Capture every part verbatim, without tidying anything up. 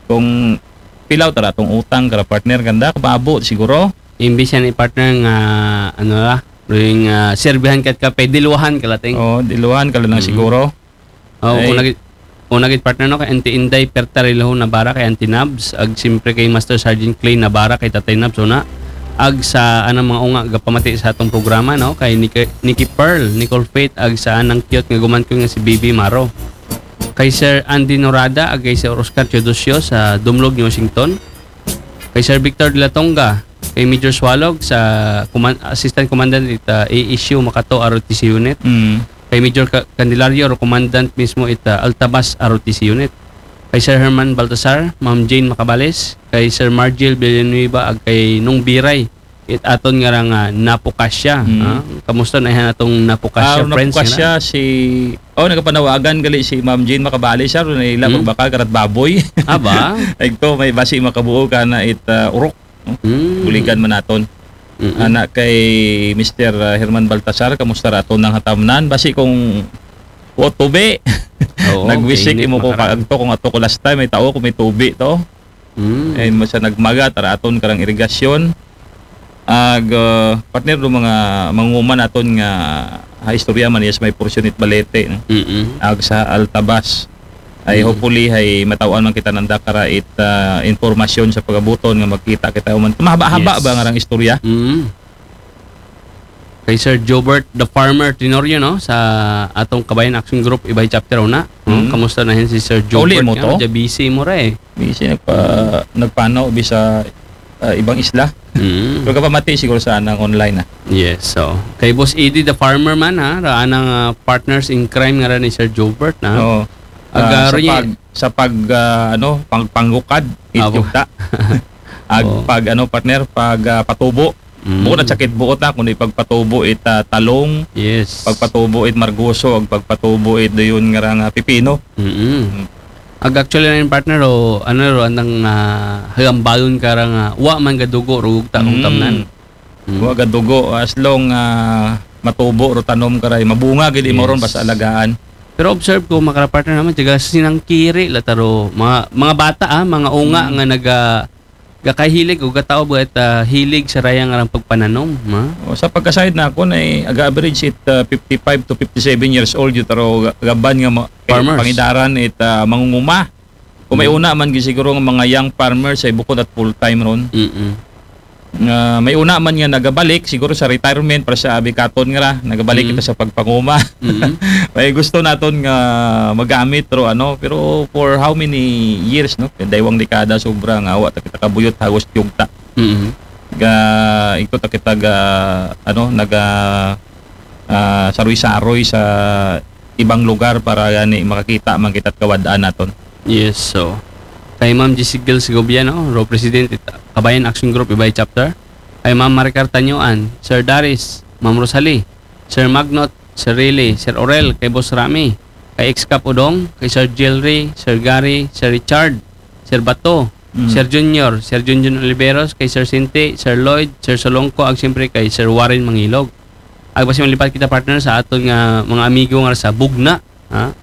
kung pilaw tara atong utang kara partner kanda, kababo siguro. Imbis yan i-partner nga, ano la, ring, ah, serbihan kat ka, pay diluwahan ka lating. Oh, diluwahan ka lang Mm. siguro. Oh, Ay. una gid, una gid partner, no, kay Auntie Inday Perta Rilaho Navarra, kay Auntie Nabs, ag siyempre kay Master Sergeant Clay Navarra, kay Tatay Nabs, una. Ag sa anang mga unga gapamati sa atong programa, no, kay Nikki, Nikki Pearl, Nicole Faith, ag sa anang cute nga guman ko nga si Bibi Maro. Kay Sir Andy Norada, ag kay Sir Oscar Teodosio sa Dumlog, New Washington. Kay Sir Victor de la Tonga, kay Major Swalog sa Command-, Assistant Commandant it, ah, A S U Makato R O T C Unit. Mm. Kay Major Ca-, Candelario, Commandant mismo it, ah, Altabas R O T C Unit. Kay Sir Herman Baltasar, Ma'am Jane Macabales, kay Sir Margil Villanueva, ag kay Nung Biray, it aton nga rang, ah, Napukasya. Mm. Ah, kamusta na yan atong Napukasya Ah, friends Napukasya, nga na? Si, oh, nagapanawagan gali si Ma'am Jane Macabales, sir, na ila Hmm? magbakal karat baboy. Ah, ba? Ito, may basi makabuo ka na it, ah, urok. No? Hmm. Buligan man naton. Mm-mm. Ana kay Mister, ah, Herman Baltasar, kamusta ra aton nang hatamnan? Basi kung o tubi. Oo, Nag-visit kainit imo ko makarang. Kaagto kung ato ko last time, may tao ko may tubi to. Mm. Ay, mo sa nagmaga, tara aton karang irigasyon. Ag, ah, partner, do mga manguman aton nga ha istorya man, yes, may porsyonit balete, no? Mm-mm. Ag sa Altabas. Ay, Mm. hopefully, ay mataw-an man kita nanda kara it, ah, informasyon sa pagabuton nga magkita kita human. Mahaba-haba Yes. ba nga rang istorya? Mm. Kay Sir Jobert the Farmer Tenorio, no, sa atong Kabayan Action Group Ibay Chapter una, no? Mm. Kamusta na hin si Sir Kauli Jobert mo nga? To? Medyo busy mo ra eh. Busy nagpa-, nagpanaw bisa, ah, ibang isla. Mm. Pero kapamati siguro sa anang online, ah. Yes, so. Kay Boss Eddie the Farmer man, ha, ra anang, ah, partners in crime nga ra ni Sir Jobert, na. Oo. Aga Ah, sa rin pag, sa pag, ah, ano, pang-, panggukad, Abo. Ityugta. Ag Oo. pag, ano, partner, pag, ah, patubo. Mm. Bukod at sakit buot na, kundi pagpatubo it, ah, talong, Yes. pagpatubo it margoso, ag pagpatubo it dayon nga rang, ah, pipino. Mm-mm. Mm. Ag actually na yung partner, o, ano, ro, andang, ah, hagambalon ka rang, ah, wa man gadugo, rugog ta, kung Mm. tamnan. Mm. Wa gadugo, as long, ah, matubo, ro tanom ka ray, mabunga, gid imo ron, Yes. basta alagaan. Pero observe ko, makara partner naman, tiga sinangkiri, la taro, mga, mga bata, ah, mga unga Mm. nga naga-, gakahilig o gataob gat, ah, hilig sa rayang arang pagpananom, ha? O, sa pagkasayod na ako, na, eh, aga-average it, ah, fifty-five to fifty-seven years old, yun, taro ga-, gaban nga ma-, eh, Farmers. Pangidaran it, ah, mangunguma. Kung may Mm. una man, gi-, siguro nga mga young farmers ay bukod at full-time ron. Mm-mm. Nga may una man nga nagabalik, siguro sa retirement, para sa abikaton nga ra, nagabalik Mm. kita sa pagpanguma. Mm-mm. May gusto naton nga magamit, pero ano, pero for how many years, no? Kaya daywang dekada, sobra nga, wa ta kita kabuyot, hagos tiyugta. Mm-mm. Ga, ito ta kita ga, ano, naga, ah, saroy-saroy sa ibang lugar para gani makakita man kita at kawad-an naton. Yes, so. Kay Ma'am Jessica Segovia, no? Ro President, it-, Kabayan Action Group, Ibay Chapter. Kay Ma'am Maricar Tañuan, Sir Darius, Ma'am Rosalie, Sir Magnot, Sir Riley, Sir Orel, kay Boss Rami, kay Ex-Cap Udong, kay Sir Jelry, Sir Gary, Sir Richard, Sir Bato, Mm. Sir Junior, Sir Junjun Oliveros, kay Sir Sinti, Sir Lloyd, Sir Solongko, ag siyempre kay Sir Warren Mangilog. Ag basi malipat kita, partner, sa aton nga mga amigo nga sa Bugna, ha?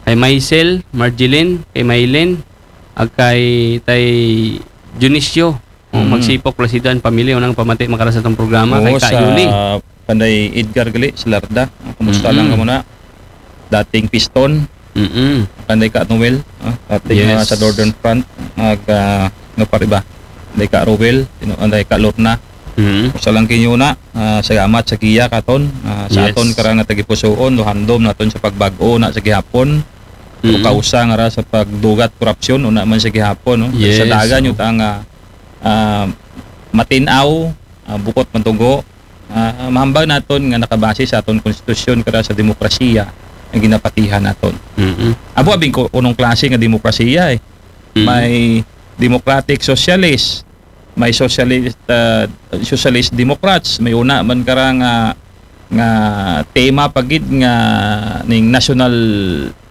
Kay Maisel, Marjeline, kay Maylin, ag kay Tay Dionisio. O, Mm. Magsipok, Placido and Pamilya, unang pamati makara sa atong programa, kay Oo, Ka sa Yuli. Panday Edgar gali, si Larda. Kumusta Mm-mm. lang ka muna? Dating Piston. Mm-mm. Panday Ka Noel, ah, dating, Yes. ah, sa Northern Front. Ag, ah, nga pariba. Panday Ka Roel, sino, panday Ka Lorna. Mm. Kumusta lang kinyo na? Ah, salamat sa giya katon. Ah, sa Yes. aton karang nga tagipusoon, luhandom naton sa pagbag-o na sa gihapon. Mm. O kausa nga ra sa pagdugat korupsyon, una man sa gihapon, no? Yes, Sa dagan oo. yun ang, ah, ah, matinaw, ah, bukot mantugo, ah, mahambag naton nga nakabase sa aton konstitusyon kara sa demokrasiya ang ginapatihan naton. Mm-mm. Abo abing ko, unong klase nga demokrasiya, eh. Mm-mm. May democratic socialist, may socialist, ah, socialist democrats, may una man kara nga, nga tema pa gid nga ning national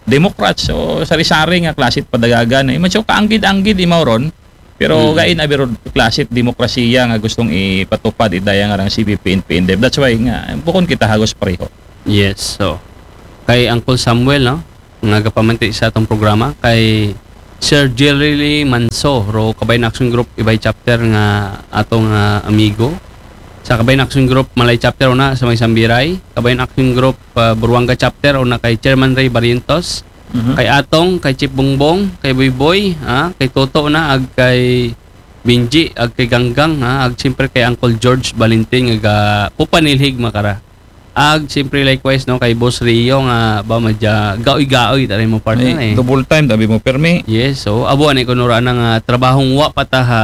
democrats. So, sari-sari nga klase padagagan. Eh, man, so, kaanggid-anggid imaw ron. Pero Mm. gain abi ron klase demokrasiya nga gustong ipatupad idaya nga rang C P P, N P, N D F. That's why nga, bukon kita hagos pareho. Yes, so, kay Uncle Samuel, no? Nga gapamanti sa atong programa, kay Sir Jerry Manso, ro Kabayan Action Group Ibay Chapter nga atong ah, amigo. Sa Kabayan Action Group Malay Chapter una sa may Sambiray, Kabayan Action Group ah, Buruanga Chapter una kay Chairman Ray Barrientos, Mhm. kay Atong, kay Chip Bongbong, kay Boy Boy, ah, kay Toto na ag kay Binji, ag kay Ganggang, ah, ag siyempre kay Uncle George Valentin nga ga pupanilhig makara. Ag siyempre likewise no kay Boss Rio nga ba madya gaoy-gaoy taray mo partner Ay, eh. Double time, tabi mo, permi. Yes, so abo ani ko nura nang ah, trabahong wa pa ta ha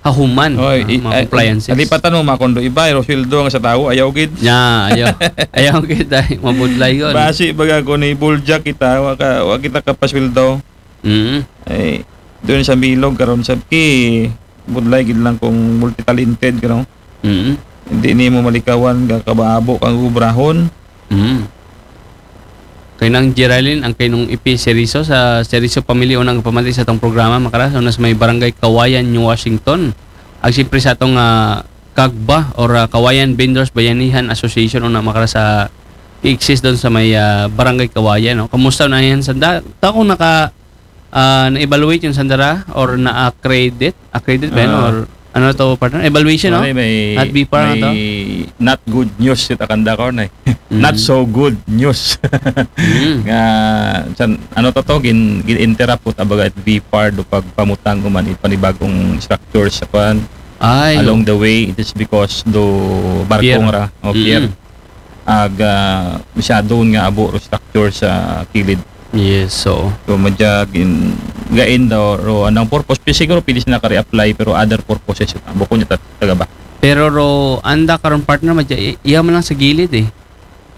hahuman Oy, ah, i- mga ay, compliances. Alipatan mo, makondo iba, ro sweldo nga sa tao, ayaw gid. Ya, ayaw. Ayaw kita ay mabudlay yun. Basi baga ko ni Buljak kita, wa, ka, wa kita kapasweldo. Mm. Ay, doon sa bilog karon sa ki budlay gid lang kung multi-talented ka, no? Mm. Hindi nimo malikawan ka kabaabo kang ubrahon. Mm. Kay nang Geraldine, ang kay nung ipi Seriso sa Seriso Family unang pamati sa atong programa makara sa may Barangay Kawayan, New Washington. Ag siyempre sa atong ah, Kagba or ah, Kawayan Vendors Bayanihan Association una makara sa exist doon sa may ah, Barangay Kawayan no. Kumusta na yan sanda? Ta kung naka ah, na-evaluate yung sandara or na-accredit, accredit ba yun? Ah. Or ano to partner? Evaluation no? May, may, Not B P A R na to? may not good news kita kanda ko na eh. Mm. Not so good news. Mm. Nga san, ano to to gin, gin interrupt put abaga at V PAR do pagpamutang uman it panibagong structure sa kwan. Ay. Along the way, it is because do barko Pier. Nga ra o pier. Mm. Ag ah, masyado nga abo ro structure sa kilid. Yes, so. So madya gin gain daw ro anang purpose. Pi siguro pili sila ka-reapply pero other purposes abo ko niya tat- taga ba. Pero ro anda karon partner madya i- iya man lang sa gilid eh.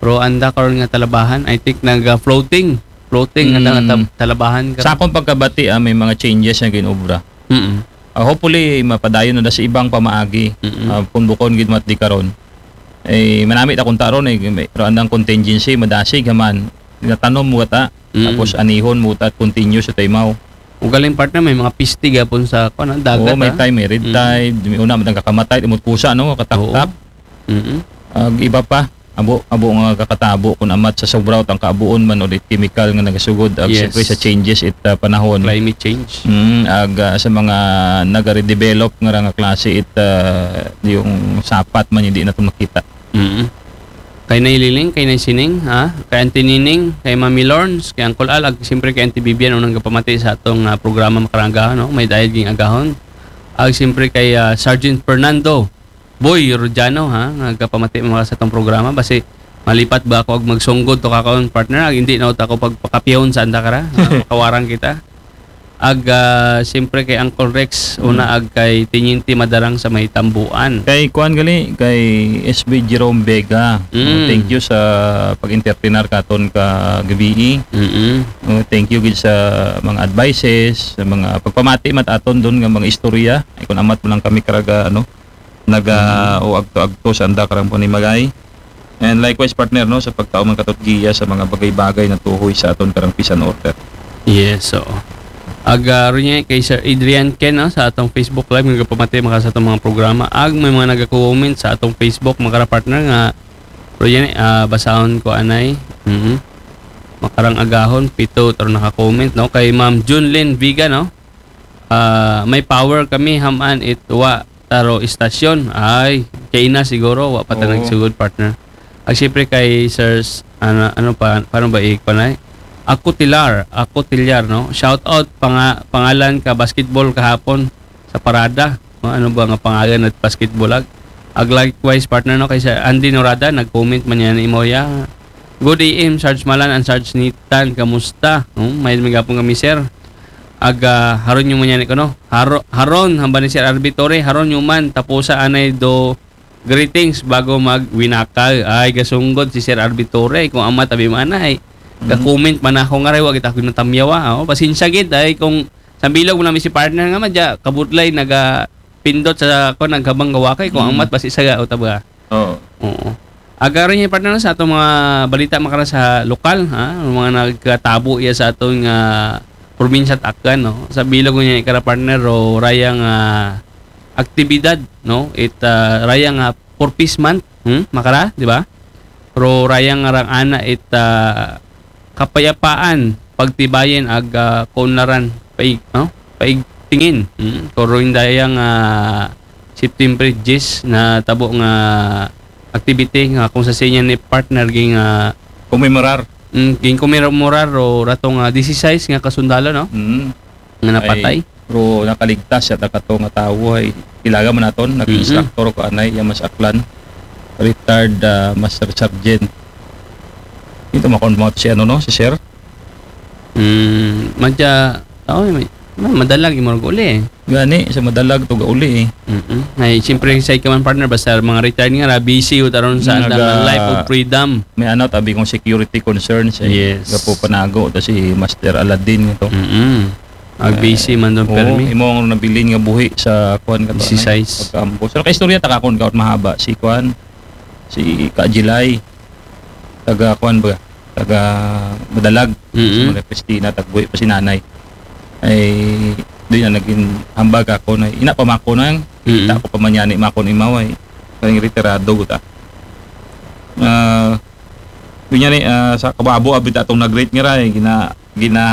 Ro anda karon nga talabahan, I think nag ah, floating. Floating nga Mm. anda nga tab- talabahan karon. Sa akong pagkabati ah, may mga changes nga ginobra. Mm. Ah, hopefully mapadayon na da sa ibang pamaagi. Mm-mm. Ah, kung bukon gid mat di karon. Eh manami ta kung taron eh may ro andang contingency madasig haman natanom mo ta. Mm. Tapos anihon mo ta at continue sa taymaw. Ugaling partner may mga piste gapon sa kuan ah, dagat. Oo, may ah. time may red Mm. tide, may una man kakamatay, imot pusa no, kataktak. Mm. Ag iba pa, abo abo nga kakatabo kun amat sa sobraw tang kaabuon man ulit chemical nga nagasugod ag Yes. siyempre sa changes it ah, panahon. Climate change. Mm, ag ah, sa mga nagare-develop nga ra nga klase it ah, yung sapat man hindi na to makita. Mm. Kay Nay Liling, kay Nay Sining, ha? Kay Auntie Nining, kay Mami Lorns, kay Uncle Al, ag siyempre kay Auntie Vivian unang gapamati sa atong ah, programa makarang agahon, no? May dayad ging agahon. Ag siyempre kay ah, Sergeant Fernando Boy Rodiano, ha? Nga gapamati mga sa atong programa basi malipat ba ako ag magsunggod to kakaon partner ag hindi na ako pagpakapiyahon sa anda kara. Ha? Makawarang kita. Ag ah, siyempre kay Uncle Rex, una ag kay Teniente Madarang sa may Tambuan. Kay kuan gali kay S B Jerome Vega. Mm. Thank you sa pag-entertainar katon ka gabii. Mm. Oh, thank you gid sa mga advices, sa mga pagpamati mat aton doon nga mga istorya. Ay kun amat mo lang kami karaga ano naga o agto-agto sa anda karang panimagay. And likewise partner no sa pagtao man katot giya sa mga bagay-bagay na tuhoy sa aton karang peace and order. Yes, so. Ag ah, ro niya kay Sir Adrian Ken no, sa atong Facebook Live nga gapamati maka sa atong mga programa. Ag may mga nagako-comment sa atong Facebook mga partner nga ro niya ah, basahon ko anay. Mhm. Makarang agahon pito taro naka-comment no kay Ma'am Junlin Viga no. Ah, may power kami haman it wa taro istasyon. Ay, kay ina siguro wa pa ta Oo. nagsugod partner. Ag siyempre kay Sir S- ano ano pa paano ba i-panay? Ako Tilar, ako Tilyar no. Shout out panga, pangalan ka basketball kahapon sa parada. No? Ano ba nga pangalan at basketball ag? Ag likewise partner no kay Sir Andy Norada nag-comment man niya ni Imoya. Good A M, Sarge Malan and Sarge Nitan, kamusta? No? May magapon kami sir. Aga haron yung manyan ko no. Haro, haron hamba ni Sir Arbitore, haron yung man tapusa anay do greetings bago mag winakal. Ay gasunggod si Sir Arbitore kung ama tabi manay. Ga-comment man ako nga ray wa kita ko natamyawa. Oh, pasensya gid ay kung sa bilog mo namin si partner nga madya kabudlay naga pindot sa ko naghabang gawakay kung Mm. amat basi saga o tabaga. Oo. Oo. Agaron niya partner sa atong mga balita makara sa lokal ha, ang mga nagkatabo iya sa atong nga probinsya at Aklan no. Sa bilog niya ikara partner ro rayang ah, aktibidad no. It ah, rayang ah, for peace month, hmm? Makara, di ba? Ro rayang nga rang ana it ah, kapayapaan pagtibayin ag ah, kaunlaran paig, no? Paigtingin. Mm, kung ron dayang, ah, September diyes na tabo nga activity nga kung sa sinya ni partner ging, ah, Kumemorar. Mm, ging kumemorar ro ratong, ah, disisais nga kasundalo, no? Mm. Nga napatay. Pero nakaligtas siya ta kato nga tawo ay ilaga man naton, naging Mm-mm. instructor ko anay, iya mas aklan, retired, ah, master sergeant. Ito makon mo si ano, no, si sir. Mm, madya, oh, may, may madalag imong uli eh. Gani sa madalag to gauli eh. Mm-mm. Ay, siyempre sa ikaman partner, basta mga retired nga ra, busy yun taron sa Naga- andang life of freedom. May ano, tabi kong security concerns eh. Yes. Gapo panago to si Master Aladdin ito. Mm-mm. Ag busy man doon Oo, permi. Imong nabilin nga buhi sa kuan ka to, Disisais. Pagkaampo. So nakaistorya ta kakon kaot mahaba si kuan, si Kajilay. Taga kuan ba? Taga Madalag. Mm-mm. Sa mga Christina, tagbuhi pa si nanay. Ay, doon na naging hambag ako na ina pa mako nang Mm-mm. kita ko pamanyani makon imaw ay kaning retirado guta. Ah, doon ni, ah, sa kababo abit atong nag-rate nga ra eh, gina gina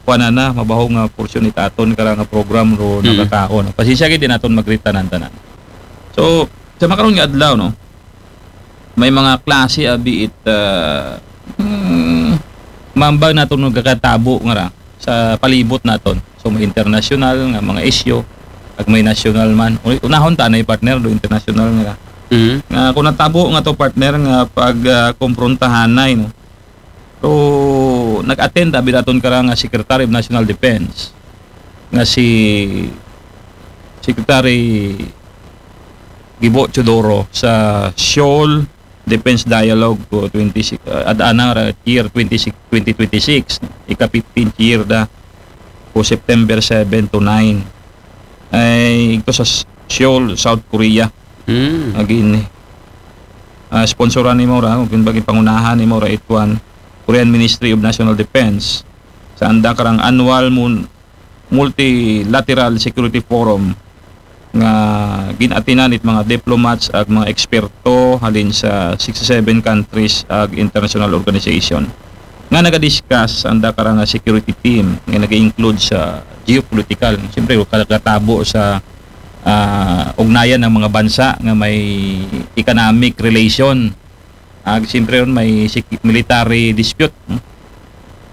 kuan na, mabaho nga portion itaton kara nga program ro Mm. nagakaon. Pasensya gid din aton mag-rate tanan-tanan. So, sa makaron nga adlaw, no, may mga klase abi it, ah, hmm, mambag naton nagakatabo nga ra sa palibot naton. So, may international nga mga isyu, ag may national man. Uli, unahon ta na partner do international nga ra. Mm. Nga kung natabo nga to partner nga pag ah, komprontahanay, no. So, nag-attend abi daton kara nga Secretary of National Defense nga si Secretary Gibo Teodoro sa Seoul Defense Dialogue ko twenty-six, uh, adana ra year twenty-six, twenty twenty-six, ika fifteenth year da ko September seven to nine. Ay, ito sa Seoul, South Korea. Mm. Again, eh. Ah, sponsoran ni Mora, kung bagay pangunahan ni Mora, ituan, Korean Ministry of National Defense, sa anda karang annual mun- multilateral security forum nga ginatinan it mga diplomats ag mga eksperto halin sa sixty-seven countries ag international organization nga nagadiscuss anda karang security team nga nag-include sa geopolitical, siyempre, kagatabo sa ah, ugnayan ng mga bansa nga may economic relation. Ag siyempre ron may sec- military dispute. Hmm?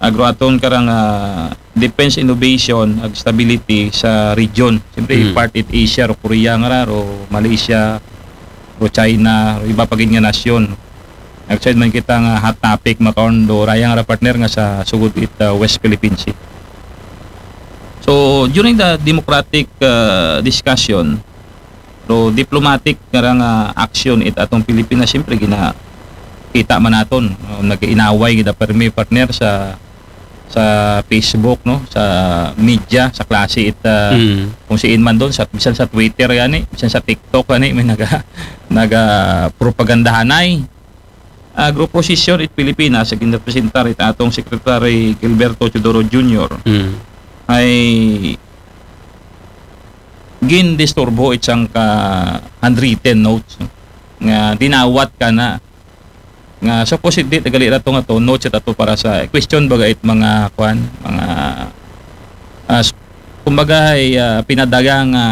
Ag ro aton karang ah, defense innovation ag stability sa region. Siyempre, Mm. part it Asia, ro Korea nga ra, ro Malaysia, ro China, ro iba pa gid nga nasyon. Nag-side man kita nga hot topic makaon do rayang ra partner nga sa sugod it ah, West Philippine Sea. So during the democratic ah, discussion, so diplomatic nga ra nga action it atong Pilipinas, siyempre gina kita man naton, uh, nag-inaway gid permi partner sa sa Facebook, no, sa media, sa klase it ah, Mm. kung siin man doon, sa bisan sa Twitter gani, bisan sa TikTok gani may naga naga propagandahanay. Ag ro posisyon it Pilipinas sa ginrepresentar it atong Secretary Gilberto Teodoro Junior Mm. ay gindisturbo it sangka handwritten notes, no, nga dinawat kana nga supposedly tagali ra to nga to notes it ato para sa question baga it mga kwan, mga as kumbaga ay ah, pinadaga nga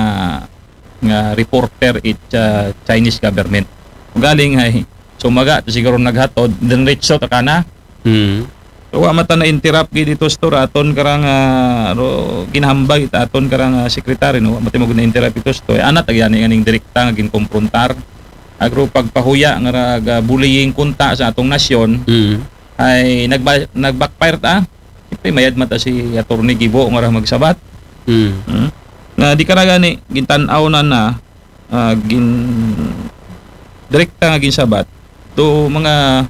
nga reporter it ah, Chinese government. Galing ay sumaga to siguro naghatod, diretso ta kana. Mm. So, wa mata na interrupt gid ito store aton karang ah, ro ginhambag it aton karang ah, secretary, no, wa mata mo na interrupt ito store. Anat agyani nganing direkta nga ginkomprontar. Agro pagpahuya nga ra ga bullying kunta sa atong nasyon Mm. ay nagba- nagbackfire ta. Siyempre, mayad mata si Attorney Gibo nga ra magsabat. Mm. Hmm? Na di ka na gani gintan-aw na na ah, gin direkta nga ginsabat to mga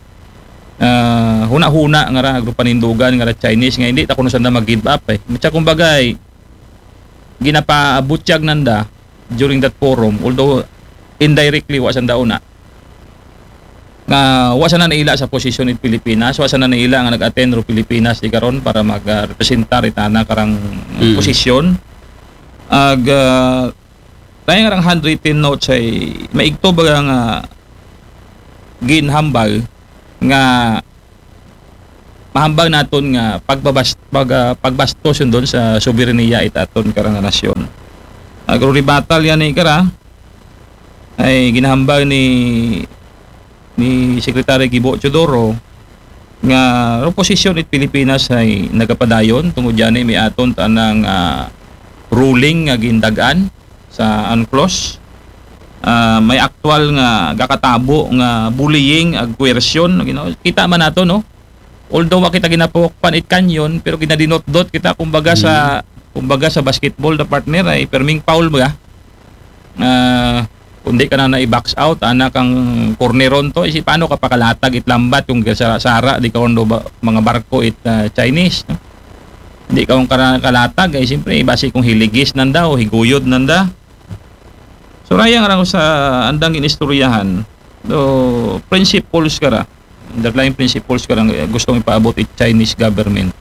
ah, huna-huna nga ra agro panindugan nga ra Chinese nga hindi ta kuno sanda mag-give up eh. Matsa kumbaga ay ginapaabutyag nanda during that forum, although indirectly wa sanda una nga wa sana naila sa posisyon it Pilipinas, wa sana naila nga nag-attend ro Pilipinas di karon para mag-representar itana karang Mm. posisyon. Ag ah, tayo nga rang handwritten notes ay maigto ba nga ginhambal nga hambag naton nga pagbabas-, pag, ah, pagbastos yun doon sa soberanya it aton karang nasyon. Agro-rebuttal yan ni kara, ay ginahambag ni, ni Secretary Gibo Teodoro nga reposition it Pilipinas ay nagapadayon tungod yan may aton tanang, ah, ruling nga gindagan sa UNCLOS. Ah, may aktual nga gakatabo nga bullying ag coercion, you know. Kita man nato, no? Although wa kita ginapukpan it kanyon, pero ginadinotdot kita, kumbaga, sa, kumbaga, sa basketball na, partner, ay perming foul ba? Ah, kundi ka na na-box out, ana kang corneron to, isi paano ka pakalatag it lambat kung sara-sara di ka undo ba, mga barko it, ah, Chinese, no? Hindi ka kung kara-, kalatag, ay siyempre, basi kung hiligis nanda o higuyod nanda. So, raya nga lang sa andang inistoryahan, do principles kara, underlying principles karang, eh, gustong ipaabot it Chinese government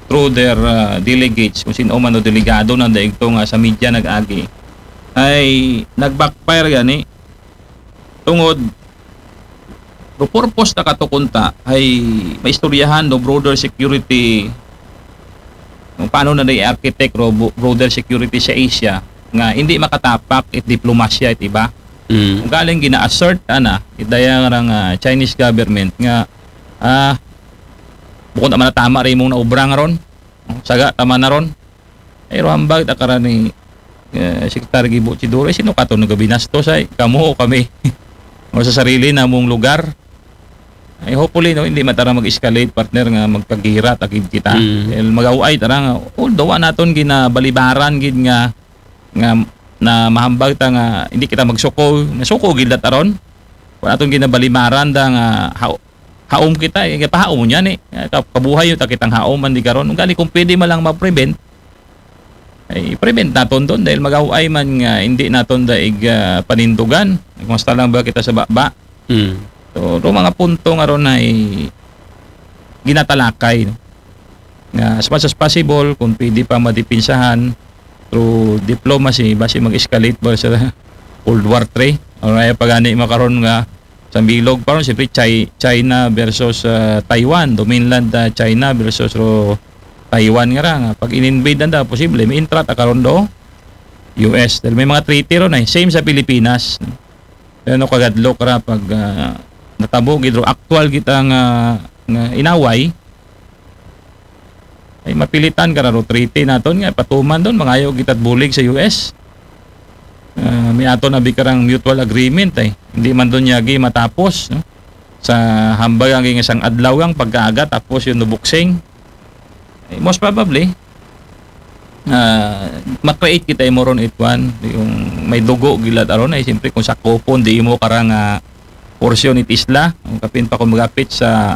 through their, ah, delegates, kung sino man o delegado nanda igto nga sa media nag-agi, ay nag-backfire gani. Tungod, do purpose na kato kunta ay maistoryahan do broader security, kung paano na i-architect ro bo-, broader security sa Asia nga hindi makatapak it diplomasya it iba. Mm. Kung galing gina-assert, ana, it daya nga rang, ah, Chinese government nga, ah, bukod naman na tama rin mong naubra nga ron. Saga, tama na ron. Ay, ro hambag, ta kara ni, eh, Secretary Gibo Teodoro, sino kato nagabinastos ay? Kamo o kami? O sa sarili namong lugar? Ay, hopefully, no, hindi man tara mag-escalate, partner, nga magkagirat agid kita. Mm. Dahil mag-away tara nga, although wa naton ginabalibaran gid nga, nga na mahambag ta nga hindi kita magsuko, nasuko gid dat aron. Wa naton ginabalibaran da nga ha-, haom kita, eh, pahaom niya ni. Ka-, kabuhay yung takitang haom man di karon. Kung gali, kung pwede man lang ma-prevent, ay prevent naton doon dahil mag-away man nga hindi naton daig, ah, panindugan. Kumusta lang ba kita sa baba? Mm. So, do mga punto nga ron ay ginatalakay, no? Nga as much as possible, kung pwede pa madipinsahan through diplomacy, basi mag-escalate ba sa World War Three? O raya pa gani makaron nga sa bilog pa ron, siyempre, Chi-, China versus, ah, Taiwan, do mainland, ah, China versus ro Taiwan nga ra, nga pag in-invade nanda, posible, may intrat a karon do U S. Dahil may mga treaty ron ay, same sa Pilipinas. Pero no, kagadlok ra pag, ah, natabo gid ro, aktual kita nga, nga inaway, ay mapilitan ka ra ro treaty naton nga patuman doon, mangayo kita bulig sa U S. Ah, may ato na bikarang mutual agreement ay. Hindi man doon yagi matapos, no? Sa hambag ang isang adlaw ang pagkaaga, tapos yung nubuksing. Eh, most probably, ah, ma-create kita imo ron, it one, yung may dugo gilad aron, ay siyempre kung sakupon di imo karang, ah, portion it isla, ang kapin pa kung magapit sa,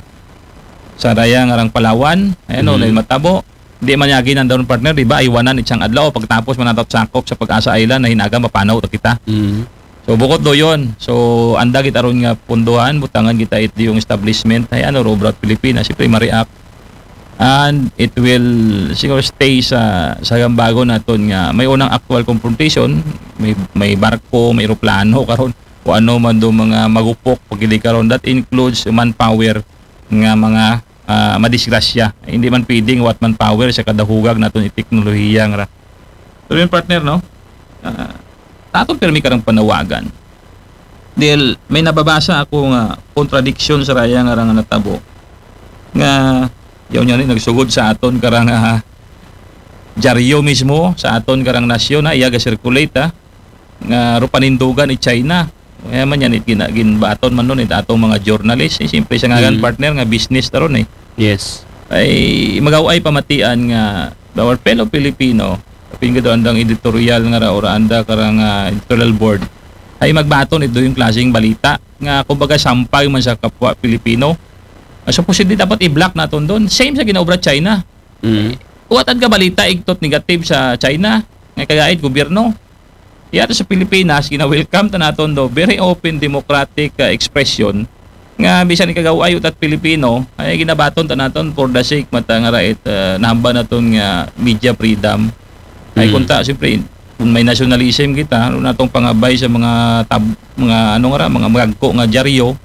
sa daya nga rang Palawan, ay ano, Mhm. na matabo. Di man yagi nandun, partner, di ba? Iwanan isang adlaw, pagtapos man nato sakop sa Pag-asa Island na hinaga mapanaw to kita. Mhm. So, bukod do yun. So, anda gid aron nga punduhan, butangan kita it yung establishment, ay ano, ro abroad Pilipinas, siyempre, ma-react. And it will siguro stay sa, sa gambago naton nga may unang actual confrontation, may, may barko, may eroplano karon, o ano man do mga magupok pagili karon. That includes manpower nga mga, ah, madisgrasya. Hindi man pwedeng what manpower sa kadahugag naton i teknolohiya nga ra. Pero yung partner, no? Ah, aton pirmi karang panawagan. Dahil may nababasa ako nga kontradiksyon sa raya nga rang natabo. Nga, yaw niya ni nagsugod sa aton karang, ah, dyaryo mismo, sa aton karang nasyon, ha, iya ga-circulate, ha, nga ro panindugan ni China. Kaya man yan, it gina-, ginbaton man nun, it atong mga journalist, eh, siyempre sa ngalan, Mm. partner, nga business taron, eh. Yes. Ay, magaw ay pamatian nga our fellow Filipino, kapin ka doon ang editorial nga ra, or anda karang, ah, editorial board, ay magbaton ito yung klaseng balita nga, kumbaga, sampay man sa kapwa Pilipino. Ah, supposedly, dapat i-block naton doon. Same sa ginaobra China. Mm. Kuwatan ka balita, igtot negative sa China, nga kagaid gobyerno. Yata sa Pilipinas, gina-welcome ta naton do very open democratic, ah, expression nga bisan ikagaw ayo tat Pilipino, ay ginabaton ta naton for the sake mata nga rait, ah, nahamba naton nga media freedom. Ay Mm. kunta, siyempre, kung may nationalism kita, ano natong pangabay sa mga tab-, mga ano nga ra, mga magagko nga dyaryo,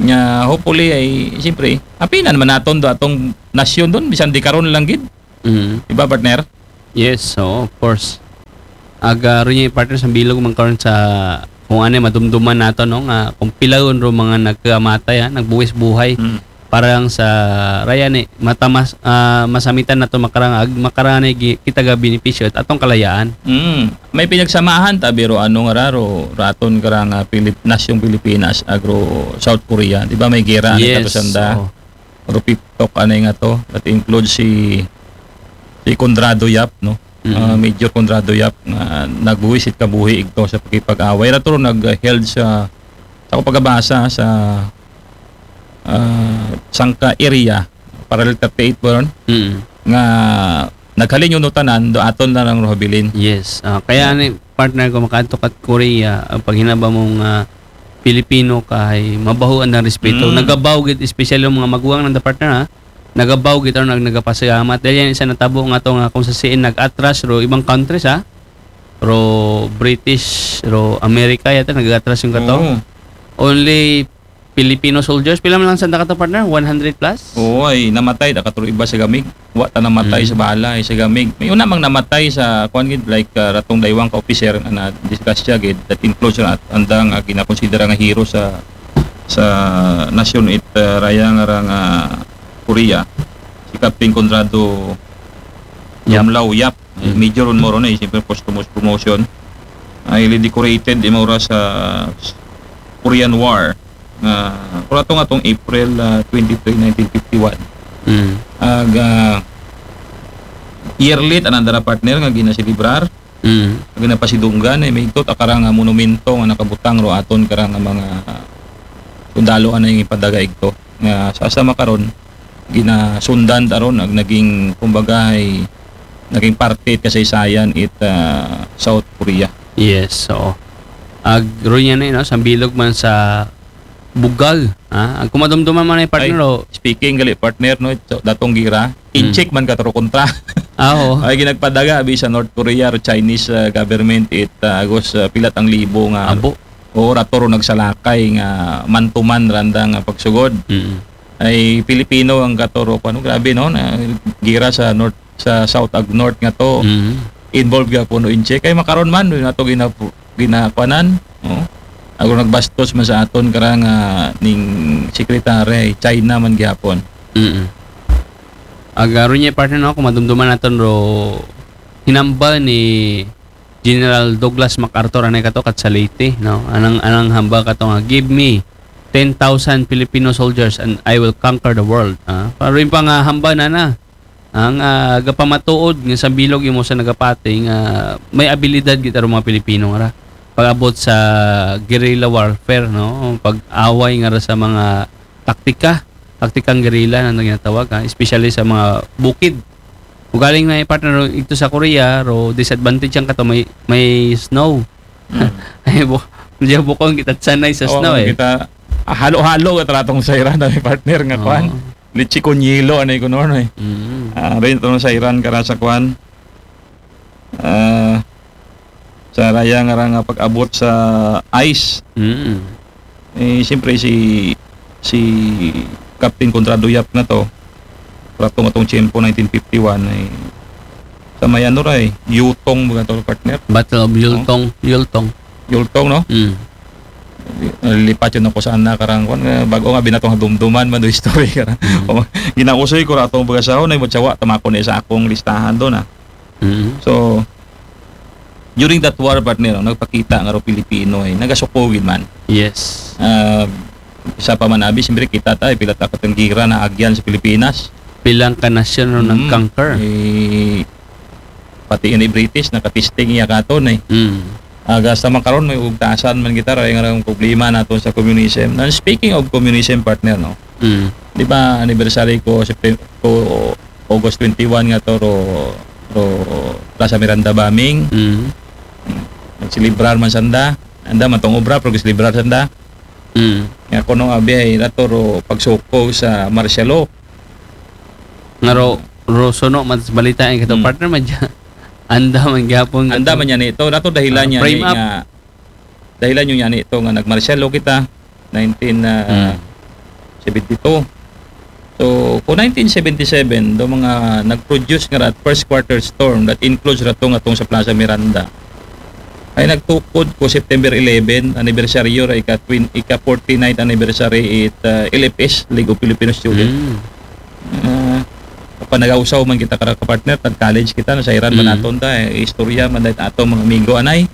Nya, hopefully, ay, siyempre, apina naman naton do atong nasyon doon, bisan di karon lang gid. Mm. Di ba, partner? Yes, so of course. Aga rin yung partner sa bilog man karon sa kung ano madumduman nato, no, nga kung pilaon ro mga nagkamatay, ha, nagbuwis buhay Mm. para lang sa raya ni matamas ah, masamitan nato makarang ag makarani gi- kita ga benepisyo at atong kalayaan. Mm. May pinagsamahan ta biro ano nga raro raton karang ah, Pilip nasyong Pilipinas agro South Korea. Di ba may gera ni Yes. kato sanda? Oo. Rupiptok anay nga to. That includes si si Conrado Yap, no? Mm. Ah, Major Conrado Yap nga nagbuwisit kabuhi igto sa pakipag-away. Rato ro nag-held sa sa akong pagabasa sa ah, Sangka area, parallel thirty-eight po ron, Mm. nga naghalin yung nutanan, do aton na lang rohabilin. Yes. Ah, kaya ni partner ko makaadto kat Korea, ang paghinaba mong ah, Pilipino kay mabahuan ng respeto. Mm. Nagabaw gid, especially yung mga maguwang ng partner, ha. Nagabaw gid, ano, nag nagapasalamat. Dahil yan isa natabo nga to nga kung sa siin nag-atras ro ibang countries, ha. Ro British, ro America yata nag-atras yung kato. Oo. Only Filipino soldiers. Pila man lang sanda kato, partner? One hundred plus? Oo, ay namatay da katuro iba sa gamig. Wa ta namatay Mm. sa bala ay sa gamig. May una mang namatay sa kuan gid, like ah, ratong daywang ka officer nga na disgrasya gid, that includes ra andang uh, ginakonsidera nga hero sa sa nasyon it ah, raya nga ra nga Korea, si Captain Conrado Yap. Yumlaw Yap. Mm. Major ron mo ron eh, siyempre posthumous promotion. Ay decorated imura sa Korean War nga kurato nga tong April ah, twenty-three, nineteen fifty-one. Mm. Ag ah, yearly tanan dara partner nga ginaselebrar, Mm. nga ginapasidunggan ay may ikot akara nga monumento nga nakabutang ro aton kara nga mga sundalo anay nga ipadaga igto nga sa asa makaron ginasundan taron ag naging kumbaga ay naging parte it kasaysayan it ah, South Korea. Yes, so ag ro niya na, no, sambilog man sa bugal, ha? Ang kumadumduman man ay partner, Ay, oh. Speaking gali partner, no, so, datong gira, Hmm. incheck man katuro kontra. Ah, oo. Ay ginagpadaga abi sa North Korea or Chinese ah, government it ah, agos ah, pilat ang libo nga Abo. o rato ro nagsalakay nga man-to-man randa nga pagsugod. Mm. Ay Pilipino ang katuro, ano, grabe, no, na gira sa North, sa South ag North nga to. Mm. Involved ga puno in check. Ay makaron man, doon nato gina, ginakuanan. Oh. Ako nagbastos man sa aton karang ah, ning secretary, China man gihapon. Mm. Agaro niya partner, no, kung madumduman natin ro hinamba ni General Douglas MacArthur anay kato kat sa Leyte, no? Anang anang hamba kato nga, "Give me ten thousand Filipino soldiers and I will conquer the world." Ah, pero yung pang ah, hamba na na ang ah, gapamatuod nga sa bilog yung mo sa nagapati nga may abilidad gid aro mga Pilipino nga ra pag-abot sa guerrilla warfare, no? Pag-away nga ra sa mga taktika, taktikang guerrilla na ginatawag, ha? Especially sa mga bukid. Ugaling na partner ito sa Korea, ro disadvantage ang kato may may snow. Mm. Ay bu, medyo bukong kita sanay sa Oo, snow eh. Kita ah, halo-halo at ratong sa Iran na may partner nga Oo. Kwan. Litchi con hielo anay ko noon eh. Mm. Ah, rin itong sa Iran kara sa Kwan. Ah, sa raya nga ra nga pag-abot sa ice. Mm. Eh, siyempre si si Captain Conrado Yap na to. Ratong atong tiyempo nineteen fifty-one ay sa may ano ra eh, Yutong mga to partner. Battle of Yultong, Yultong. Yultong, no? Mm. Nalilipat yun ako sa anak karang kwan. Nga, bago nga binatong dumduman man do history karang. Mm. O, ginausoy ko ratong bagasahon ay mutsawa tamako na sa akong listahan doon ah. Mm. So during that war partner, no, nagpakita nga ro Pilipino eh, nagasuko gid man. Yes. Ah, isa pa man abi, siyempre kita tayo, pila takot ang gira na agyan sa Pilipinas. Pilang ka nasyon ro Mm. nag-conquer. Eh, pati ni British nakatisting iya katon eh. Mm. Aga sa makaron may ugtasan man kita ray nga ang problema nato sa communism. And speaking of communism partner, no. Mm. Di ba anniversary ko September ko August twenty-one nga to ro ro Plaza Miranda bombing. Mm. Nagselebrar man sanda. Anda man tong obra pero giselebrar sanda. Mm. Nga kuno abi ay nato ro pagsuko sa martial law. Nga ro, ro suno man sa balita ay kato Mm. partner man dyan. Anda man gyapon Anda man yan ito. Nato dahilan Ah, niya frame ni up. Nga dahilan niya ni ito nga nagmartial law kita nineteen uh, Mm. seventy-two. So, kung nineteen seventy-seven, do mga nag-produce nga ra first quarter storm that includes ra tong atong sa Plaza Miranda, ay nagtukod ko September eleven, anniversary ra ika, twin, ika forty-ninth anniversary it uh, L F S, League of Filipino Students. Mm. Uh, panagausaw man kita kara ka partner, tag college kita, nasayran man Mm. naton ta, eh, istorya man dahil atong mga amigo anay.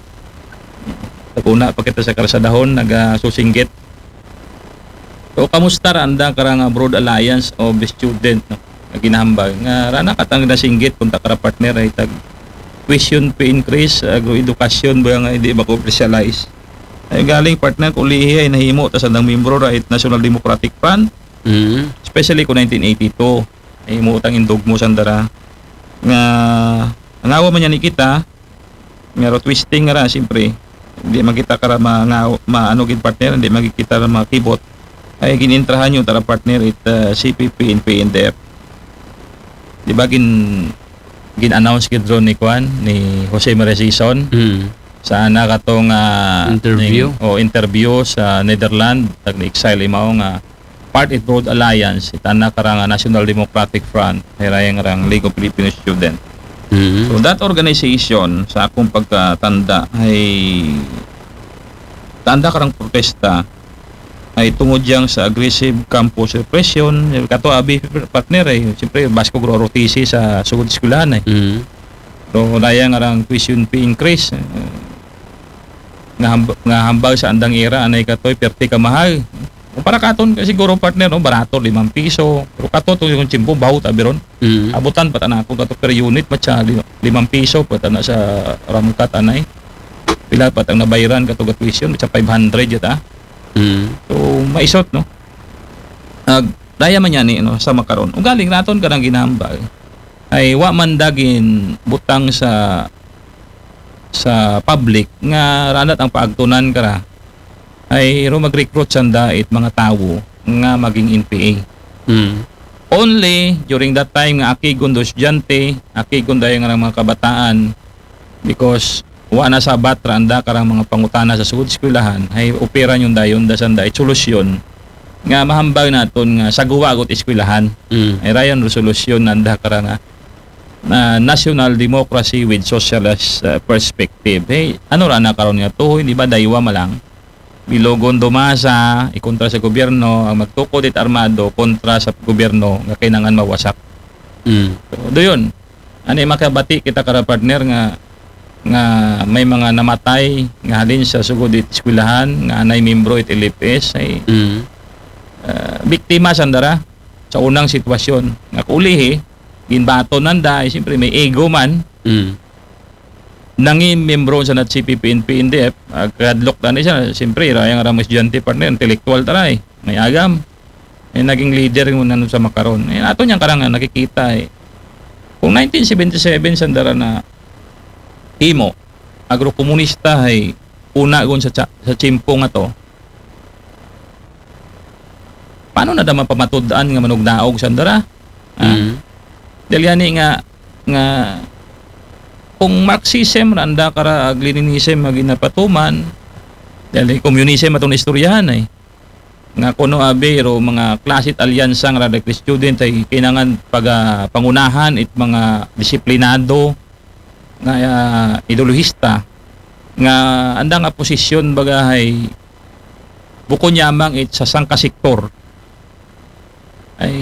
Taguna pa kita sa karsadahon, nagasusinggit. So, kamusta ra anda karang Broad Alliance of the Student, no? Nga ginahambal nga rana katang nasinggit kung ta kara partner ay tag tuition fee increase, agroedukasyon ba nga hindi ba commercialize? Ay galing partner, kulihi ay nahimo ta sa dang membro ra it National Democratic Front, Mm. especially ko nineteen eighty-two. Nahimo tang indugmo sa dara nga nangawa man niya ni kita, nga ro twisting nga ra, siyempre, hindi man kita kara ma, nga, maano gid partner, hindi man gid kita ra makibot. Ay ginintrahan yung tara partner it uh, C P P and P N D F. Di ba gin gin-announce gid ron ni Kwan, ni Jose Maria Sison, Mm. sa ana katong ah, Interview. ning- o interview sa Netherlands, tag ni Exile Imao nga part it Broad Alliance, itana karang ah, National Democratic Front, hirayang rang League of Filipino Student. Mm. So that organization, sa akong pagkatanda, ay tanda karang protesta ay tungod yang sa aggressive campus repression. Kato abi partner ay siyempre basko gro R O T C sa sugod eskwelahan ay. Mm. So daya nga rang tuition fee increase. Eh, nga, hamba, nga hambal sa andang era anay katoy perti ka mahal. O para katon ka siguro partner no, barato limang piso. Pero kato to yung tiyempo bahut abi ron. Mm. Abutan pa ta na ako kato per unit pa siya lima- limang piso pa ta na sa ramkat anay. Pila pa tang nabayran kato ga tuition sa five hundred yata. Mm. So maisot no. Ag daya man yan eh, no, sa makaron. Ugaling naton karang ginambal ay wa man dagin butang sa sa public nga ranat ang paagtunan kara ay ro mag-recruit sanda it mga tawo nga maging N P A. Mm. Only during that time nga aki gundo estudyante, aki gundo yung mga kabataan, because wa na sabat ra anda karang mga pangutana sa sugod eskwelahan, ay opera yung dayon da sanda it solusyon nga mahambal naton nga saguwa agot eskwelahan. Mm. Ay rayon resolution nanda karang ah, na national democracy with socialist uh, perspective. Hey, ano ra na karon nga tuhoy, di ba daywa malang? Bilogon dumasa, ikontra sa gobyerno, ang magtukod it armado kontra sa gobyerno nga kailangan mawasak. Mm. So, doon, ani makabati kita kara partner nga nga may mga namatay nga halin sa sugod it eskwelahan nga anay membro it L F S ay Mm. ah, biktima sandara sa unang sitwasyon nga kulihi ginbaton nanda ay siyempre may ego man Mm. nangin membro sa nat C P P N P N D F, ah, kadlok tani siya, siyempre, rayang ramo estudyante partner, intellectual taray, may agam. Eh, naging leader mo nanon sa makaron. Eh, ato niyang karang nakikita eh. Kung nineteen seventy-seven sandara na himo, agrokomunista ay una gun sa, tsa- sa tiyempo nga to, paano na daman pamatud-an nga manugdaog sandara? Ah, Mm. Dahil yani nga, nga kung Marxism, randa kara ag Leninism nga ginapatuman, dahil communism atong istoryahan ay. Nga kuno abi ro mga klasit alyansa nga radikal student ay kinangan paga pangunahan it mga disiplinado nga ah, ideolohista nga anda nga posisyon bagahay bukon yamang it sa sangka sektor ay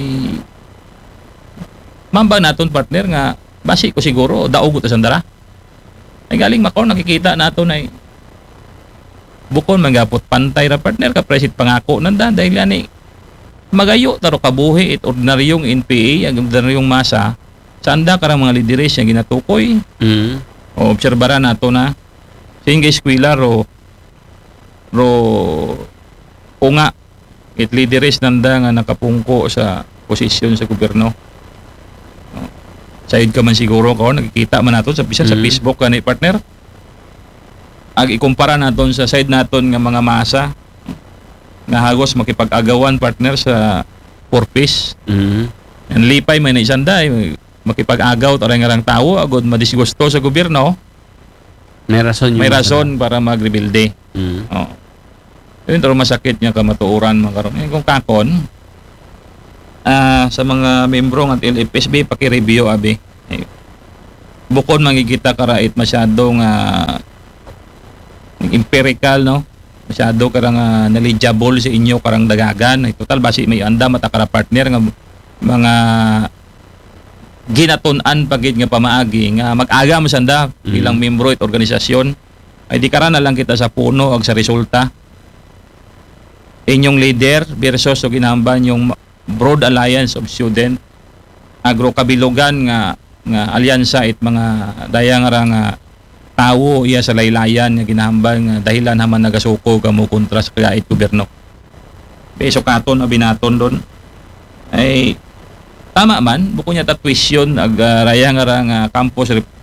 mamba naton partner nga basi ko siguro daog ta sandara. Ay galing makaw nakikita naton ay bukon manggapot pantay ra partner ka presit pangako nanda dahil ani magayo taro kabuhi it ordinaryong N P A ang ordinaryong masa sa anda karang mga lideres nga ginatukoy Mm. o obserbaran nato na singgay eskwela ro ro unga it lideres nanda nga nakapungko sa posisyon sa gobyerno. No? Sayod ka man siguro ko nakikita man nato sa bisan sa Mm. Facebook kani partner. Ag ikumpara naton sa side naton nga mga masa nga hagos makipag-agawan partner sa purpose. Mm. Ang lipay man ni sanda eh, makipag-agaw taray nga rang tawo agod madisgusto sa gobyerno, May rason yung may rason para magrebilde. Mm. Oh. Yun taro masakit niya kamatuoran mga karon. Eh, kung kakon, ah, sa mga membro ng L F S B, paki-review, abi. Eh, bukod mangigita kara it masyado nga empirical, no? Masyado karang ah, knowledgeable sa inyo karang dagagan. Eh, total, basi may anda mata kara partner nga mga ginatun-an pa gid nga pamaagi nga mag-agam sanda Mm. bilang membro it organisasyon. Ay di kara na lang kita sa puno ag sa resulta. Inyong leader versus so ginamban yung Broad Alliance of Student Agro Kabilugan nga nga alyansa it mga dayang ra nga tawo iya sa laylayan nga ginahambal nga dahilan haman nagasuko kamo kontra sa kagait gobyerno. Be, sukaton, abi naton doon. Ay, tama man, bukod niya ta tuition, ag ah, raya nga ra nga campus, rep-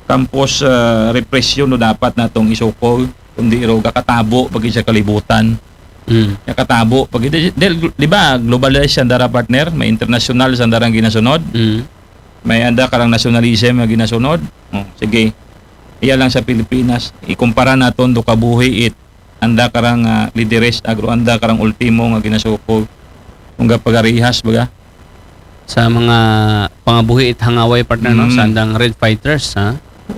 campus ah, repression no dapat natong isukol, kundi ro gakatabo pag sa kalibutan. Mm. Gakatabo pag di, di, di ba, globalized ang dara partner, may international sa darang ginasunod, Mm. may anda karang nationalism nga ginasunod. Oh, sige. Iya lang sa Pilipinas, ikumpara naton do kabuhi it anda karang ah, lideres agro anda karang ultimo nga ginasuko. Kung gapagarihas baga. Sa mga pangabuhi it hangaway, partner, no? Mm. Sa andang Red Fighters, ha?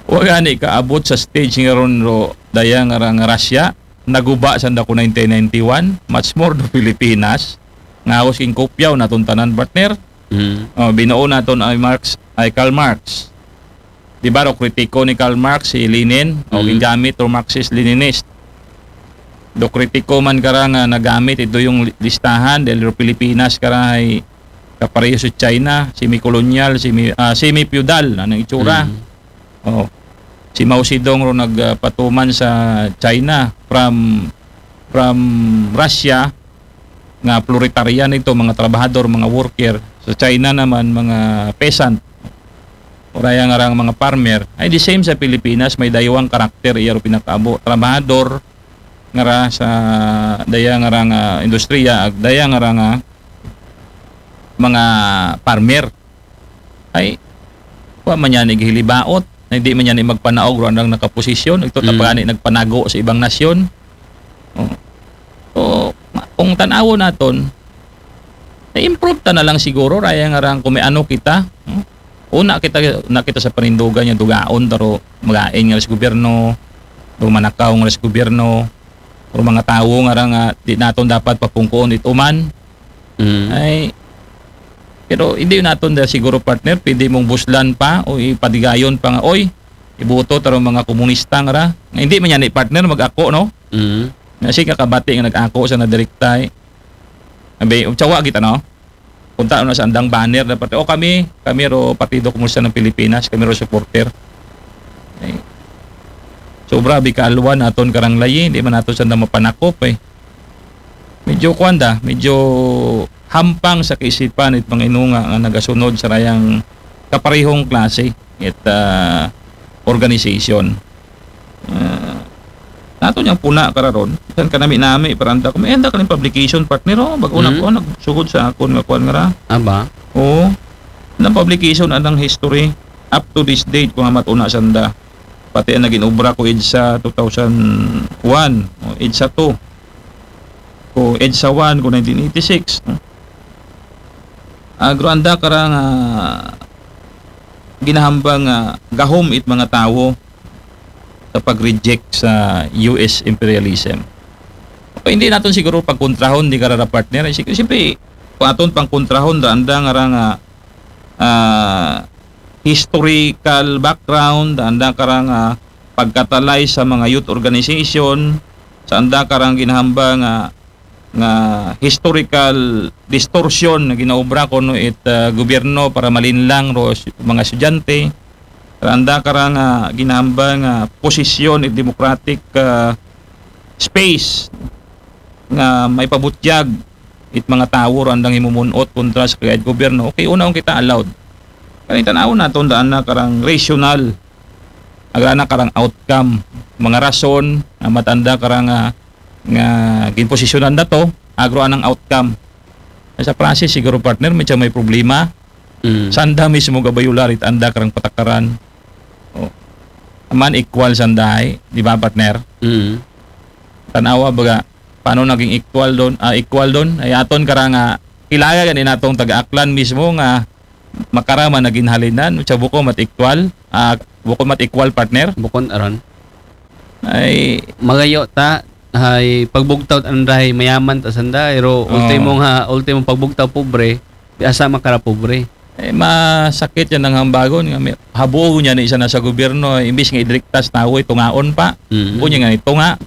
Wa gani kaabot sa stage nga ron ro daya nga ra nga Russia, naguba sa anda ko nineteen ninety-one, much more do Pilipinas. Nga hawos king kopyaw naton tanan, partner. Mm. Oh, binuo naton ay Marx, ay Karl Marx. Di ba, ro kritiko ni Karl Marx si Lenin, o Mm. gingamit ro Marxist-Leninist. Do kritiko man kara nga nagamit ito yung li- listahan dahil ro Pilipinas kara ay kapareho sa China, semi-colonial, semi, ah, semi-feudal, anong itsura? Mm. Oh. Si Mao Zedong ro nagpatuman sa China from from Russia nga proletarian ito, mga trabahador, mga worker. Sa China naman, mga peasant. Uraya nga rang mga farmer. Ay the same sa Pilipinas, may daywang karakter iya ro pinakaabo. Trabahador nga ra sa daya nga ra nga industriya, ag daya nga ra nga mga farmer. Ay, wa man yan igihilibaot, na hindi man yan magpanaog ro andang nakaposisyon, ito Mm. tapagani nagpanago sa ibang nasyon. Oh. So, ma- kung tanawon naton, na-improve ta na lang siguro, raya nga rang kung may ano kita. Hmm? Una kita, na kita sa panindugan yung dugaon, pero magain nga sa gobyerno, o manakaw nga sa gobyerno, o mga tawo nga ra nga di naton dapat papungkuon ito man. Mm. Ay, pero hindi naton da siguro, partner, pwede mong buslan pa o ipadigayon pa nga, oy, ibuto tarong mga komunista nga ra. Nga hindi man yan ni partner mag-ako, no? Mm. Nga si kakabati nga nag-ako sa nadirektay. Abi, utsawa kita, no? Punta na sa andang banner dapat, o kami, kami ro Partido Komunista ng Pilipinas, kami ro supporter. Ay, sobra bi kaalwan aton karang layi, hindi man nato sa mapanakop eh. Medyo kuwan da, medyo hampang sa kaisipan it mga inunga nga nagasunod sa rayang kaparehong klase it ah, organization. Ah, nato niyang puna kararon, san ka nami-nami paranta ko, may enda kaning publication, partner, oh, bago na Mhm. ko nagsugod sa akon nga kuwan nga ra. Aba. Oo. Nang publication anang history up to this date kung amat una sanda. Pati ang naging obra ko EDSA two thousand one, o EDSA two, ko EDSA one ko nineteen eighty-six. Agro anda karang ah, ginahambang nga gahom it mga tawo sa pag-reject sa U S imperialism. Okay, hindi naton siguro pagkontrahon di karara partner. Sig- Siyempre, kung aton pangkontrahon, da anda nga ra nga ah, historical background, da anda karang ah, pagkatalay sa mga youth organization, sa anda karang ginahambang nga nga historical distortion na ginaobra kuno it ah, gobyerno para malinlang ro s- mga estudyante. Sa anda karang ah, ginahambang nga posisyon it democratic ah, space nga may pabutyag it mga tawo ro andang himumunot kontra sa kagait gobyerno. Okay, una kita allowed. Kani tanawon naton daan na karang rational, agrana karang outcome, mga rason nga matanda karang ah, nga ginposisyonan na to, agro anang outcome. Sa process siguro, partner, medyo may problema. Mm. Sanda mismo gabayular it anda karang patakaran. Oh. Aman equal sanday, di ba, partner? Mm. Tanawa baga paano naging equal doon, ah, equal doon ay aton karang ah, kilala gani natong taga-Aklan mismo nga makara man na ginhalinan, sa bukon mat equal, ah, bukon mat equal, partner. Bukon aron. Ay, magayo ta, ay pagbugtaw anday mayaman ta sanda, pero Oo. ultimo nga, ultimo pagbugtaw pobre, di asa makara pobre. Eh, masakit yan ang hambagon nga may, habuo niya na isa na sa gobyerno, imbis nga idriktas na awoy, tungaon pa. Mm. Bunya nga ito nga,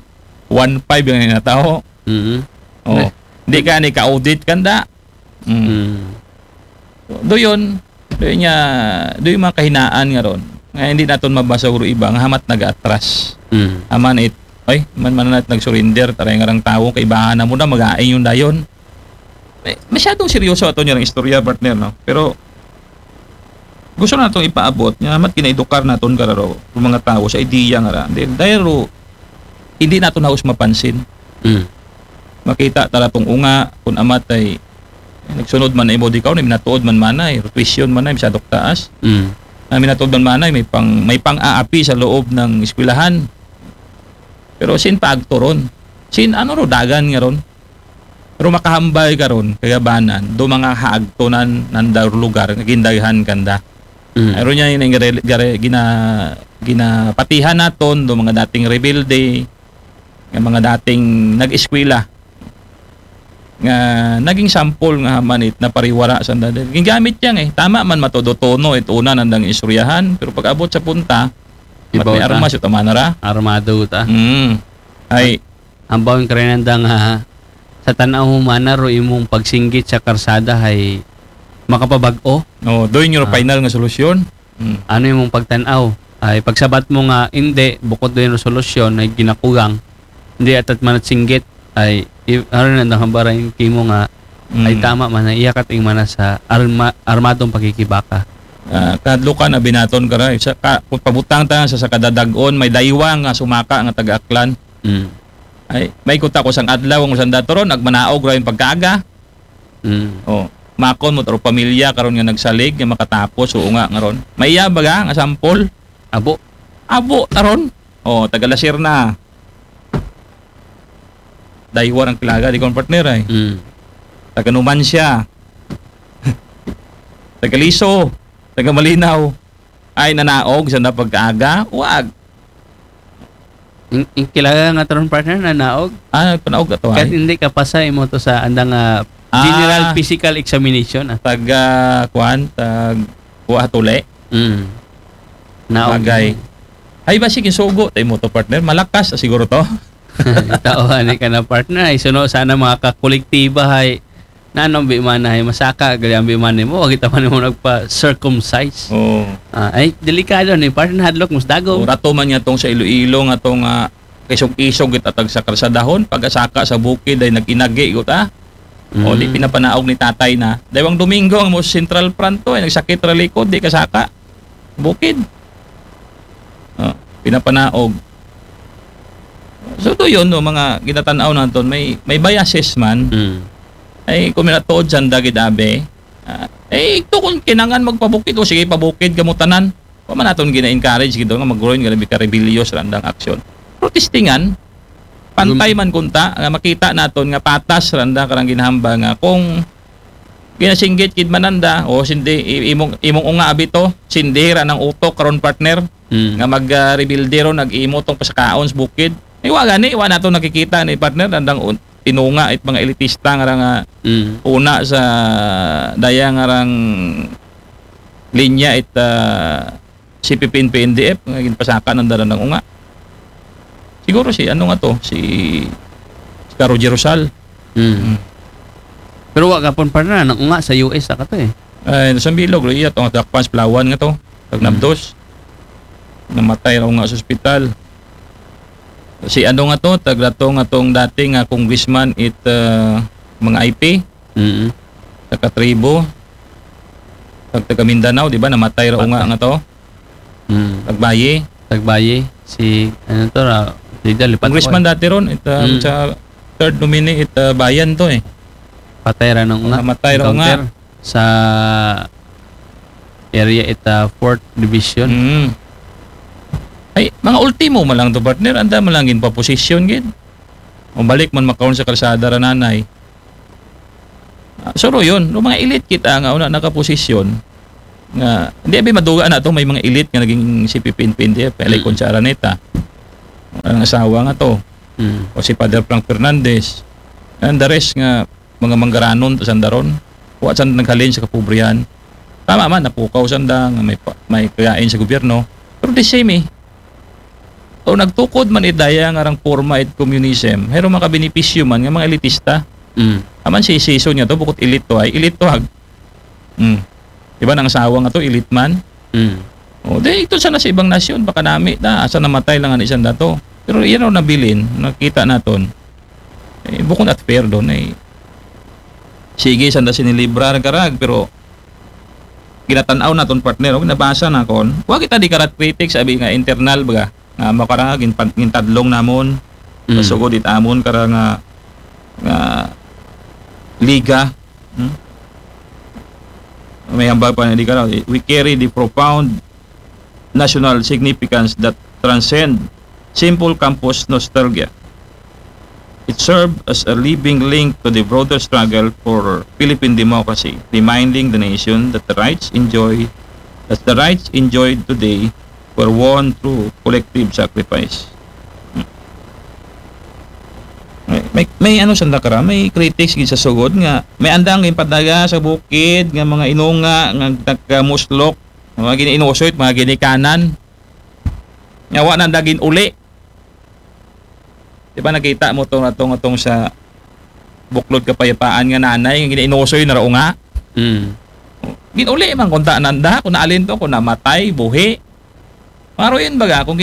one five yung nataho. Mm. Oh. Eh. Di ka ni ka-audit kanda. Mm. Mm. Doon, doon niya, doon yung mga kahinaan nga ron. Nga hindi naton mabasa uro iba, nga hamat nag-atras. Mm. Aman it, ay, man man na nag-surrender, taray nga rang tao, kaibahan na mo na, mag-aing yung dayon. Eh, masyadong seryoso ato niya ng istorya, partner, no? Pero, gusto na itong ipaabot, nga hamat kinaedukar naton kararo, yung mga tao sa ideya nga ra. Dahil, dahil ro, hindi naton haos mapansin. Mm. Makita tara tong unga, kung amat ay nagsunod man ay mo di ka, minatuod man manay, tuition man ay, masyadong taas. Mm. Na minatuod man manay, may pang, may pang-aapi sa loob ng eskwelahan. Pero sin paagto ron? Sin ano ro, dagan nga ron? Pero makahambal ka ron, kagabanan, do mga haagtonan nanda lugar, nga gindaghan kanda. Mm. Aron niya yung gare-, gare-, gina-, ginapatihan naton, do mga dating rebelde, nga mga dating nag-eskwela, nga naging sample nga manit na pariwara sa nanda. Gingamit niya nga eh. Tama man matodo tono, it una nandang istoryahan, pero pag-abot sa punta, mat Ibaw may ta. Armas, ito man ra. Armado ta. Mm. Ay. Ang bawang kare nanda nga, sa tanaw mo mana ro imong pagsinggit sa karsada ay makapabag-o. Oh, doon yung Ah. final nga solusyon. Mm. Ano imong pagtanaw? Ay, pagsabat mo nga, hindi, bukod doon yung solusyon ay ginakugang, hindi atat manat singgit, ay, i-, ano na, nakabaray kimo nga, ay Mm. tama man, na iyakat ing mana sa arma-, armadong pakikibaka. Ah, kadlukan, abinaton ka ra, sa ka-, kung pabutang ta sa, sa kadadag-on, may daywa nga sumaka nga taga-Aklan. Mm. Ay, may kuta ko sang adlaw, ang usang datoron, nagmanaog ra yung pagkaga. Mm. Oh, makon mo, taro pamilya, karon nga nagsalig, nga makatapos, oo nga, nga ron. May iya baga, nga sampol? Abo. Abo, taron. Oh, taga Lasir na. Daywa ang kilaga, di ko ang partner ay. Mm. Taga Numancia. Taga Liso. Taga Malinaw. Ay, nanaog sa na pagkaaga? Wag. In, in kilaga nga taron partner, nanaog? Ah, panaog ka to, Kahit ay? Hindi ka pasay mo to sa andang, ah, Ah. General physical examination, ah. Tag, ah, kuan, tag, kuha tuli? Mm. Naog Bagay. Mo. Ay, ba, sige, sugo, tayo mo to, partner. Malakas, ah, siguro to. Tao, ani ka na, partner. Ay, suno sana mga kakolektiba, ay, nanong bi man ay masaka, gali ang bi man mo, wag ita man mo nagpa-circumcise. Oo. Ah, ay, delikado ni, partner, hadlok, mus dagom. O, rato man niya tong sa Iloilo nga tong, ah, kaisog-isog it atag sa karsadahon, pag-asaka sa bukid ay nag-inagi, gut, ah. O, di Mm. pinapanaog ni tatay na. Daywang Domingo, ang mo Central Front to, ay nagsakit ra likod, di kasaka. Bukid. Ah, pinapanaog. So, to yun, no, mga ginatanaw naton, may, may biases man. Mm. Ay, kung minatuod sa dagid abe, ah, eh, ito kung kinangan magpabukid, o sige, pabukid kamo tanan. Wa man naton gina-encourage gito nga mag-groin nga labi ka rebellious randang aksyon. Protestingan, pantay Gum- man kunta, nga makita naton nga patas randa karang ginahamba nga kung ginasinggit kid mananda, o sindi, i-, imong, imong unga abito, sindira ng utok karon partner, Mm. nga mag, ah, rebelde ron, nag-imo tong pasakaon sa bukid. Ay, wa gani, wa nato nakikita ni partner, andang un-, tinunga it mga elitista nga ra nga Mm. una sa daya nga rang linya it, ah, C P P N P N D F, nga ginpasaka ng dala ng unga. Siguro si, ano nga to, si, si Caro Jerusal. Mm. Mm. Pero wa ka pon partner, nang unga sa U S, aka to eh. Ay, sa Bilog, iya to, nga takpan sa Palawan nga to, tagnabdos. Mm. Namatay ra unga sa ospital. Si ano nga to, tagrato nga tong dati nga congressman it, ah, mga I P, Mm. taga tribo, tag-, taga Mindanao, di ba? Namatay ra unga Patay. Nga to. Mm. Tagbayi. Tagbayi. Si, ano to, ra-, si Dal, Lipat Congressman Oy. Dati ron, it, ah, Mm. sa third nominee, it, ah, Bayan to eh. Patay ra nung nga. Namatay ra unga. Encounter sa area it, ah, fourth division. Mm. Ay, mga ultimo man lang to, partner. Anda man lang ginpaposisyon, gid. O balik man makaon sa kalsada ra nanay. Ah, so, ro yun, no, mga elite kita nga una nakaposisyon, nga, hindi abi maduga na to, may mga elite nga naging C P P N P N D F, kaya Mm. kon si Araneta, ang asawa nga to, Mm. o si Father Frank Fernandez, and the rest nga mga manggaranon to sandaron, wa san naghalin sa kapobrihan. Tama man, napukaw sanda, nga may, pa- may kagain sa gobyerno, pero the same eh. O nagtukod man idaya nga rang forma it communism, pero makabenepisyo man nga mga elitista. Mm. Aman si Sison nga to, bukod elite to ay, elite to ag. Mm. Diba nang asawa nga to, elite man? Mm. O, di ito sana sa ibang nasyon, baka nami na, asa namatay lang ang isang dato. Pero yan ang nabilin, nakita naton. Eh, bukod at fair doon, eh. Sige, sanda sinilibrar karag, pero ginatanaw naton partner, o, nabasa na kon. Wa kita di karat critics, abi nga internal baga, nga makarag, gintadlong namon, Mm. pasugod it amon kara nga, nga liga. Hmm? May hambal pa na di ka, we carry the profound national significance that transcend simple campus nostalgia. It served as a living link to the broader struggle for Philippine democracy, reminding the nation that the rights enjoy that the rights enjoyed today were won through collective sacrifice. May, may, may ano sanda kara, may critics gid sa sugod nga may andang ginpadaga sa bukid nga mga inunga nga nagkamuslok, mga giniinusoy, mga ginikanan. Nga wa nanda ginuli. Di ba nakita mo tong atong atong sa Buklod Kapayapaan nga nanay nga giniinusoy na raw nga? Mm. Ginuli man kunta nanda kung naalin to, kung namatay, buhi. Maroon baga kung